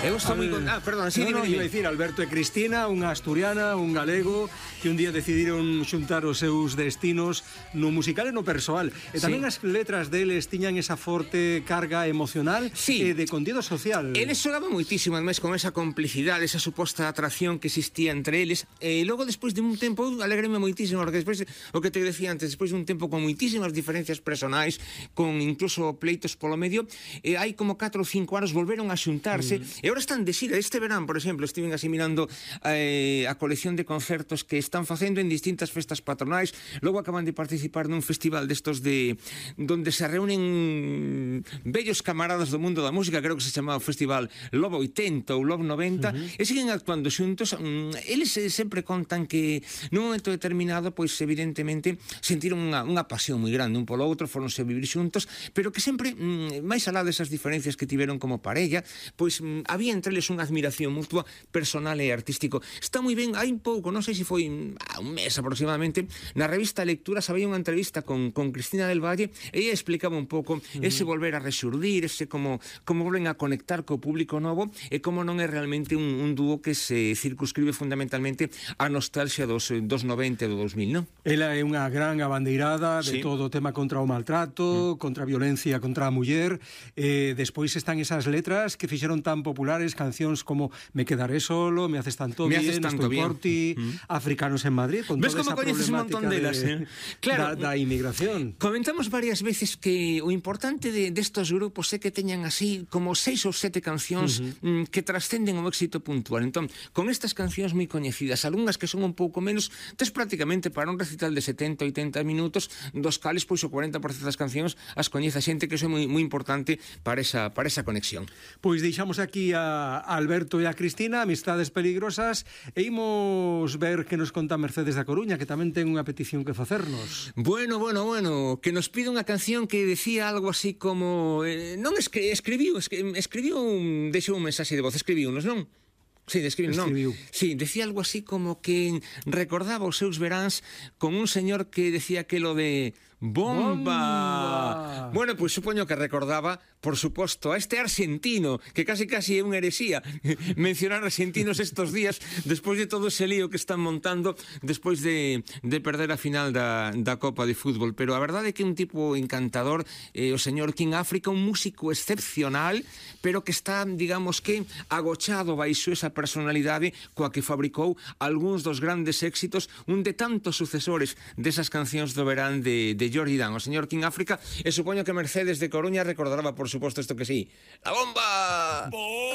Eu estou moi perdón, sí, no, iba a dicir, Alberto e Cristina, unha asturiana, un galego, que un día decidiron xuntar os seus destinos no musical e no persoal. E tamén as letras deles tiñan esa forte carga emocional e de contido social. Eles xogaban moitísimo, ademais, con esa complicidade, esa suposta atracción que existía entre eles. E logo, despois de un tempo, alegreme moitísimo, porque despois, o que te decía antes, despois de un tempo con moitísimas diferencias personais, con incluso pleitos polo medio, hai como 4 ou 5 anos volveron a xuntarse, e agora están de xira. Este verán, por exemplo, estiven así mirando a colección de concertos que están facendo en distintas festas patronais. Logo acaban de participar nun festival destos donde se reúnen bellos camaradas do mundo da música, creo que se chamaba o festival Love 80 ou Love 90, e siguen actuando xuntos. Eles sempre contan que nun momento determinado, pois evidentemente sentiron unha pasión moi grande un polo outro, foronse a vivir xuntos, pero que sempre, máis alá desas diferencias que tiveron como parella, pois había entre eles unha admiración mutua personal e artístico. Está moi ben. Hai un pouco, non sei se foi un mes aproximadamente, na revista Lecturas había unha entrevista con Cristina del Valle, e ella explicaba un pouco ese volver a rexurdir, ese como volven a conectar co público novo, e como non é realmente un dúo que se circunscribe fundamentalmente a nostalgia dos 90 e do 2000, non? Ela é unha gran abandeirada de todo o tema contra o maltrato, contra a violencia contra a muller. Despois están esas letras que fixeron tan populares, cancións como Me quedaré solo, Me haces tanto bien, Estoy por ti, Africanos en Madrid, con toda esa problemática claro, da inmigración. Comentamos varias veces que o importante destos grupos é que teñan así como 6 ou 7 cancións que trascenden o éxito puntual. Entón, con estas cancións moi coñecidas, algunhas que son un pouco menos, tes prácticamente para un recital de 70-80 minutos, dos cales pois o 40% das cancións as coñece a xente, que iso é moi importante para esa conexión. Pois deixamos aquí a Alberto e a Cristina, Amistades Peligrosas, e imos ver que nos conta Mercedes da Coruña, que tamén ten unha petición que facernos. Bueno, que nos pide unha canción que decía algo así como non escribiu deixou un mensaxe de voz, escribiunos, non? Sí, sí, decía algo así como que recordaba os seus veráns con un señor que decía que lo de bomba. Bueno, pois supoño que recordaba, por suposto, a este argentino, que casi é unha heresía mencionar argentinos estos días, despois de todo ese lío que están montando despois de perder a final da Copa de Fútbol. Pero a verdade é que é un tipo encantador, o señor King África, un músico excepcional, pero que está, digamos que, agochado baixo esa personalidade coa que fabricou algúns dos grandes éxitos, un de tantos sucesores desas cancións do verán de Jordi Dan, o señor King África. E supoño que Mercedes de Coruña recordará, por suposto, isto que sí: La bomba.